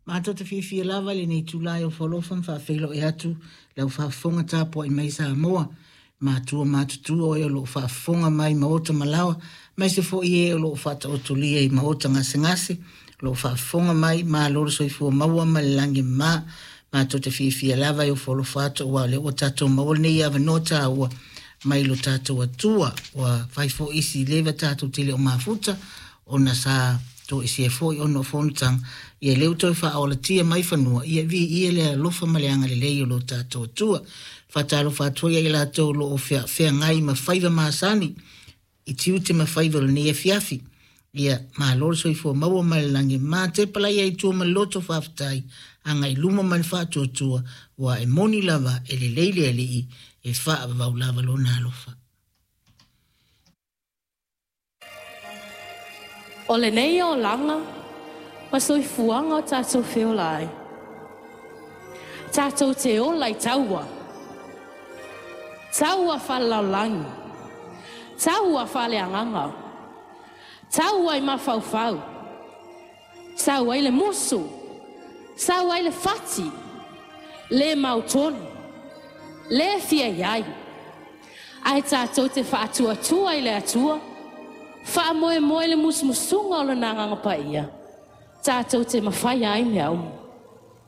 Matou te fiafia lava i lenei itula e ofo alofa ma faafeiloai atu i lau faafofoga tapuai mai Samoa, matua matutua o e o lo o faafofoga mai maota ma laoa, aemaise foi e o lo o faataotolia i maota gasegase, o lo o faafofoga mai, malo le soifua maua ma le lagi e mama. Matou te fiafia lava e ofo alofa atu aua o lea ua tatou maua lenei avanoa taua mai lo tatou Atua. Ua fai foi isi leva tatou te le o mafuta ona sa toesea foi ona o fonotaga, ia lea ua toe faaolatia mai fanua, ia viia le alofa ma le agalelei o lo tatou Atua. Faatalofa atu foi ia i latou o lo o feagai ma faiva masani i tiute ma faiva o lenei afiafi. Ia malo le soifua maua ma le lagi e mama. Tepa laia i tua ma le loto faafetai, agai i luma ma le faatuatua, ua e moni lava e lelei le Alii, e faavavau lava lona alofa. O lenei olaga ma soifuaga o tatou feola ai, tatou te ola i taua, taua faalelalolagi, taua faaleagaga, taua i mafaufau, sau ai le musu, sau ai le fati, le mautonu, le fia i ai, ae tatou te faatuatua i le Atua, faamoemoe i le musumusuga o Lona Agaga Paia, tatou te mafaia ai mea uma.